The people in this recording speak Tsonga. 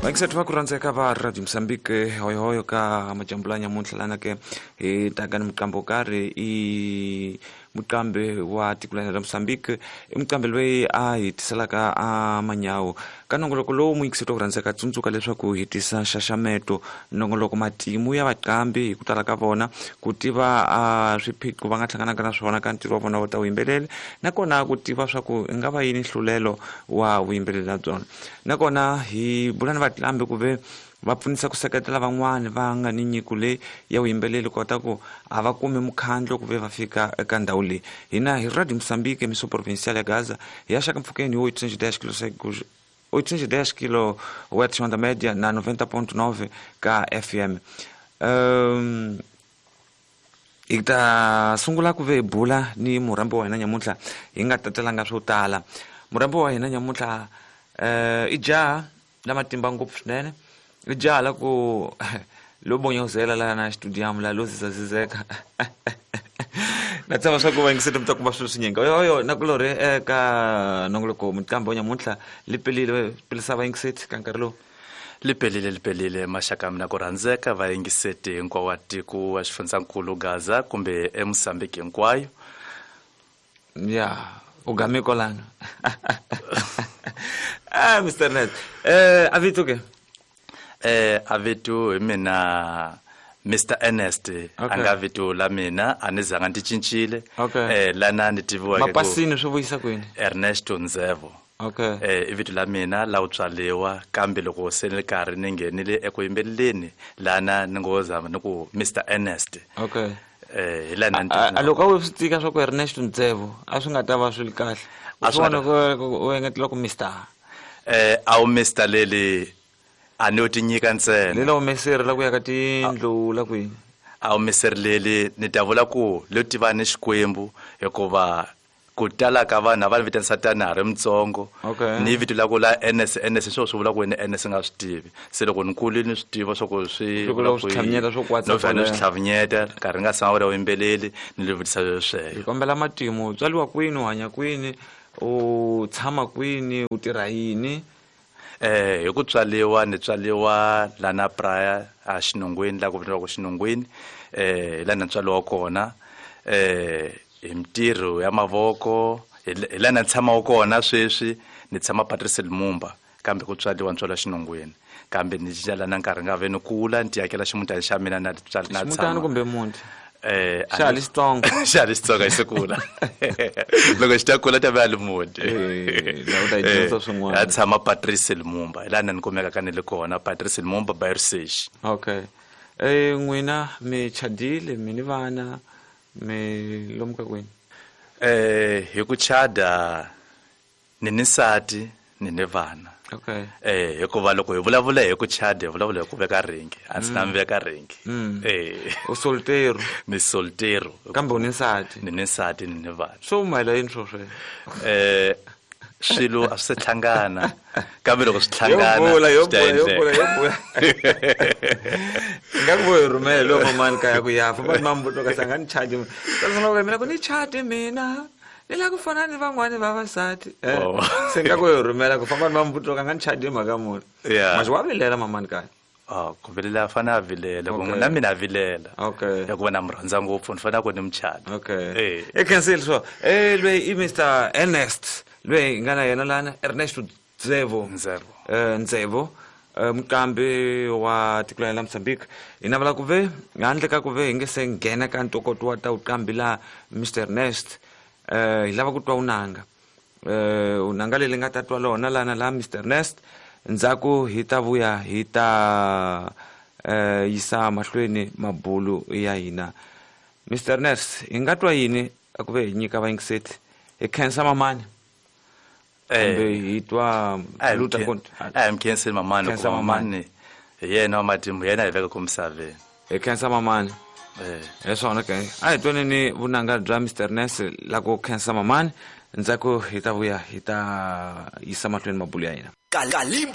Vaingiseti va ku rhandzeka va Radio Mozambique, hoyohoyo ka majambu la nyamuntlha lana ke hi taka ni muqambi wo karhi, i muqambi wa tiko la Mozambique, i muqambi loyi a hi tiselaka a manyawu ka nongoloko lowu. Muyingiseti wa ku rhandzeka, tsundzuka leswaku hi tisa nxaxameto, nongoloko, matimu ya vaqambi hi ku tala ka vona, ku tiva a swiphiqo va nga hlanganaka na swona ka ntirho wa vona wa ta vuyimbeleri, nakona ku tiva swa ku i nga va yini nhlulelo wa vuyimbeleri na byona. Nakona hi bula ni vatlambi ku ve va pfunisa ku seketela van'wani va nga ni nyiko leyi ya vuyimbeleri, kota ku a va kumi mukhandlo ku ve va fika eka ndhawu leyi. Hina hi Radio Mozambique, Emissão Provincial ya Gaza, hi ya xaka mpfhukeni hi 810 kilo 810 kilohertz onda média na 90.9 ka FM. Hi ta sungula ku ve hi bula ni murhambi wa hina nyamuntlha, hi nga tatelanga swo tala. Murhambi wa hina nyamuntlha i jaha la matimba ngopfu swinene, i jaha la ku lo bonyozela la na studium la lo zizazizeka. Na tshemba swa ku vayingiseti mi ta kuma swilo swinyingi. Oyoyo nakulorhi eka nongoloko, muqambi wa nyamuntlha li pelile pelisa vayingiseti ka nkarhi lowu. Lipelile, lipelile maxaka mina ku rhandzeka vayingiseti hinkwawo wa tiko wa xifundzankulu Gaza kumbe eMozambique hinkwayo. Ya u game kwalano. Mr Net, a vito ke? A vito hi mina Mr Ernest. A nga vito la mina a ni zanga ni cincile. Lana ni tiviweke ku mapasini swi vuyisa kwini? Ernesto Nzevo. I vito la mina la u tswaliwa, kambe loko se ni karhi ni nghenile eku yimbeleleni lana ni ngo zama ni ku Mr Ernest. Hi lana ni A loko a wu swi tika swa ku Ernesto Nzevo a swi nga ta va swi ri kahle. A swi nga ta u engetela ku Mr. A wu Mr leli a ni yo ti nyika ntsena. Lela humeseri la ku ya ka tindlu la kwini? A humeseri leli ni ta vula ku lo tiva ni Xikwembu, hikuva ku tala ka vanhu a va ni vitanisa tani ha ri mutsongo. Ni vito la ku la NS, NS swo swi vula ku wena NS nga swi tivi. Se loko ni kule ni swi tiva swa ku swi Loko vula u swi ku yini. tlhavinyeta swo kwatsa No fanele swi kwalaya. tlhavinyeta, nkarhi nga tshama wu ri yimbeleli, ni le vutisa sweswo. Hi kombela matimu, u tswariwa kwini, u hanya kwini, u tshama kwini, u tirha yini? Hi ku tswaliwa ni tswaliwa lana Praia a Xinungwini, la ku vitaniwaka Xinungwini, hi lana ni tswaliwa kona. Hi mintirho ya mavoko, hi lana ni tshamaka kona sweswi, ni tshama Patrice Lumumba, kambe ku tswaliwa ni tswaliwa Xinungwini. Kambe ni cinca lana nkarhi nga ve ni kula, ni ti akela ximutana xa mina na tswala na Ximutana tshama. kumbe muti? A Xa ni li Xitsonga. Xa li Xitsonga xi kula. Loko xi ta kula ta va li muti. La u ta yi dyondza swin'wana. A tshama Patrice Lumumba, hi laha ni kumeka ka ni le kona, Patrice Lumumba by research. N'wina mi chadile, mi ni vana, mi lomu ka kwini? Hi ku chada ni ni nsati, ni ni vana. Hikuva loko hi vulavula hi ku chada, hi vulavula hi ku veka ringi. A ndzi na mi veka ringi. U solteiro. Ni solteiro. Kambe u ni nsati. Ni ni nsati, ni ni vana. Swo humelela yini swo sweswo? Swilo a swi se hlangana. Kambe loko swi hlangana, Yo bula, yo swi ta bula, yo endleka. bula, yo bula. Nga ku hi rhumela loko mamani kaya ku ya fa, va mambuto ka sanga ni charge. Ka sanga ku mina ku ni charge mina. Ni la ku fana ni van'wani vavasati. Se nga ku hi rhumela ku famba ni mambuto ka nga ni charge mhaka muni. Mas wa vilela mamani kaya? Ku vilela a fanele a vilela, ku na mina a vilela. Hikuva na mi rhandza ngopfu, ni fanele ku ni mi chata. I cancel swo. Loyi i Mister Ernest, loyi hi nga na yena lana, Ernesto Nzevo. Nzevo. Nzevo. Muqambi wa tiko la Mozambique. Hi navela ku ve handle ka ku ve hi nge se nghena ka ntokoto wa ta vuqambi la Mister Ernest, hi lava ku twa unanga. Unanga leri nga ta twa lona lana la Mister Ernest, ndzhaku hi ta vuya hi ta yisa mahlweni mabulu ya hina. Mister Ernest, hi nga twa yini a ku ve hi nyika vayingiseti? Hi khensa mamani. Kumbe hi twa Luta Nkonto. A hi mi khenseli mamani, Khensa hikuva mamani. mamani hi yena wa matimba, hi yena hi veka ku misaveni. Hi khensa mamani. Hi swona ke. A hi twaneni vunanga bya Mister Ernest la ku khensa mamani, ndzhaku hi ta vuya hi ta yisa mahlweni mabulu ya hina. Kalimba.